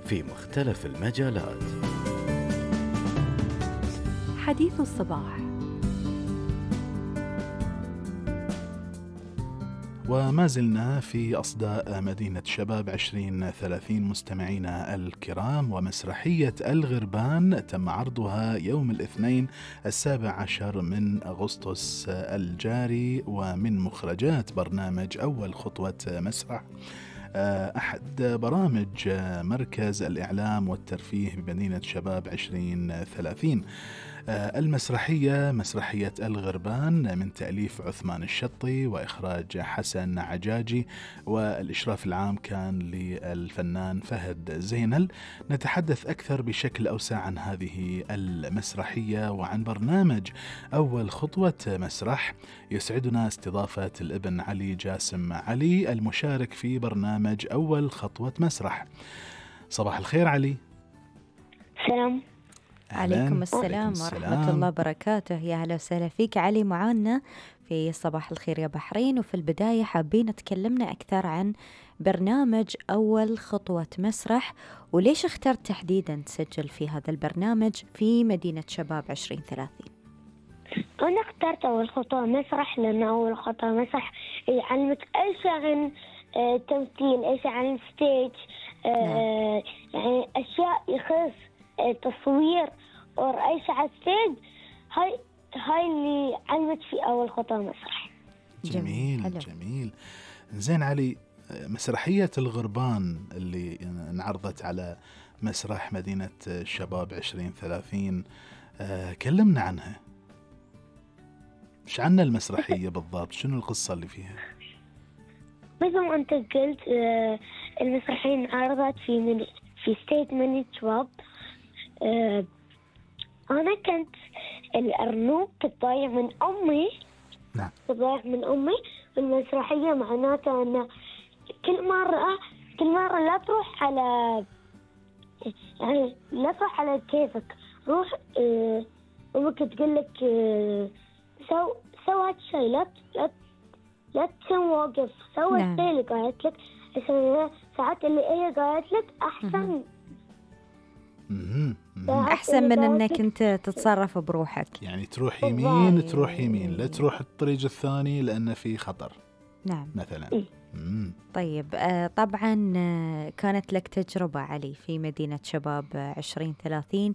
في مختلف المجالات. حديث الصباح. وما زلنا في أصداء مدينة شباب 2030 مستمعينا الكرام، ومسرحية الغربان تم عرضها يوم الاثنين 17 من أغسطس الجاري، ومن مخرجات برنامج أول خطوة مسرح، أحد برامج مركز الإعلام والترفيه بمدينة شباب 2030. المسرحية مسرحية الغربان من تأليف عثمان الشطي وإخراج حسن عجاجي، والإشراف العام كان للفنان فهد زينل. نتحدث أكثر بشكل أوسع عن هذه المسرحية وعن برنامج أول خطوة مسرح. يسعدنا استضافة الابن علي جاسم علي المشارك في برنامج أول خطوة مسرح. صباح الخير علي. سلام. عليكم السلام ورحمة الله وبركاته. يا هلا وسهلا فيك علي معانا في صباح الخير يا بحرين. وفي البداية حابين تكلمنا أكثر عن برنامج أول خطوة مسرح، وليش اخترت تحديدا تسجل في هذا البرنامج في مدينة شباب 2030؟ أنا اخترت أول خطوة مسرح لأن أول خطوة مسرح يعلمك أي شيء عن تمثيل، أي شيء عن ستيج، يعني أشياء يخص تصوير أو أي شيء على ستيج. هاي اللي علمت في أول خطوة مسرح. جميل جميل. زين علي، مسرحية الغربان اللي انعرضت على مسرح مدينة شباب 2030، كلمنا عنها. إيش عن المسرحية بالضبط؟ شنو القصة اللي فيها؟ مثل ما أنت قلت، المسرحية انعرضت في ستيت مدينة شباب. أنا كنت الأرنوب ضايع من أمي. نعم. ضايع من أمي. المسرحية معناتها أن كل مرة لا تروح على، يعني لا تروح على كيفك، روح أمك تقول لك سو هاد الشيء، لا تكون واقف، سوي الشيء اللي قالت لك. ساعات اللي هي قالت لك أحسن. أحسن من أنك أنت تتصرف بروحك، يعني تروح يمين تروح يمين، لا تروح الطريق الثاني لأن في خطر. نعم مثلا. طيب، طبعا كانت لك تجربة علي في مدينة شباب 2030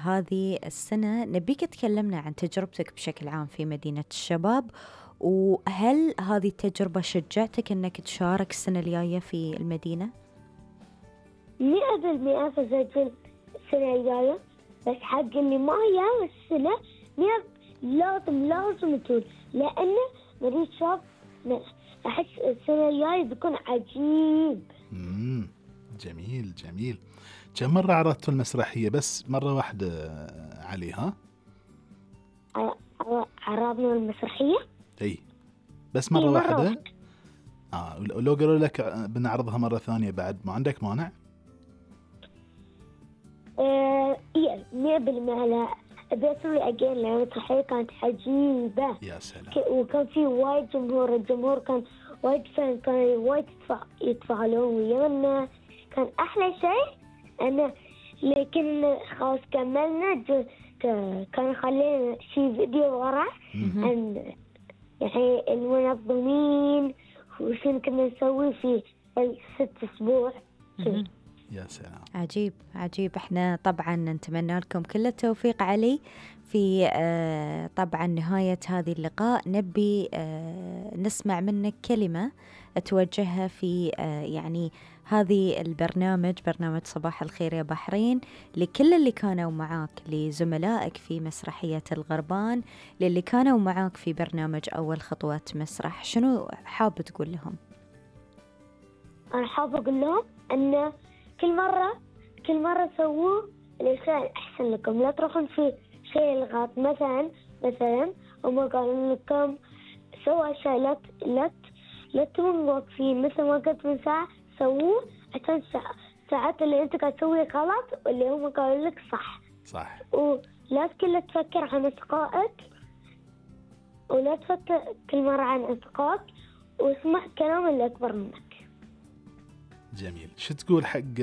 هذه السنة. نبيك تكلمنا عن تجربتك بشكل عام في مدينة الشباب، وهل هذه التجربة شجعتك أنك تشارك السنة الجاية في المدينة؟ 100% فسجل السنة الجاية، بس حق اللي ما يا السنة لازم تقول، لأن مدينة شباب أحس السنة الجاية بيكون عجيب. جميل جميل. كم مرة عرضتوا المسرحية؟ بس مرة واحدة علي؟ ها؟ عرضنا المسرحية؟ اي بس مرة واحدة. لو قالوا لك بنعرضها مرة ثانية بعد ما عندك مانع؟ 100%. لا بيسوي أجين، لأن المسرحية كانت عجيبة. يا سلام. وكان في وايد جمهور، الجمهور كان وايد فان، كان وايد يتفاعلون ويانا. كان أحلى شيء أنا لكن خلاص كملنا، كان خلينا شي فيديو ورا عن يعني المنظمين وشين كنا نسوي في 6 أسبوع. يا سلام. عجيب عجيب. احنا طبعا نتمنى لكم كل التوفيق علي في طبعا نهاية هذه اللقاء. نبي نسمع منك كلمة توجهها في يعني هذه برنامج صباح الخير يا بحرين لكل اللي كانوا معاك، لزملائك في مسرحية الغربان، للي كانوا معاك في برنامج أول خطوات مسرح. شنو حاب تقول لهم؟ أنا حاب أقول لهم أن كل مرة سووا الشيء أحسن لكم، لا تروحون في شيء الغلط. مثلا هم قالوا لكم سووا شيء، لا تكونوا واقفين. مثل ما قلت من ساعة سووه عشان ساعات اللي أنت قاعد تسوي غلط واللي هم قالوا لك صح. ولا كل تفكر عن أصدقائك، ولا تفكر كل مرة عن أصدقائك، واسمع كلام اللي أكبر منك. جميل. شو تقول حق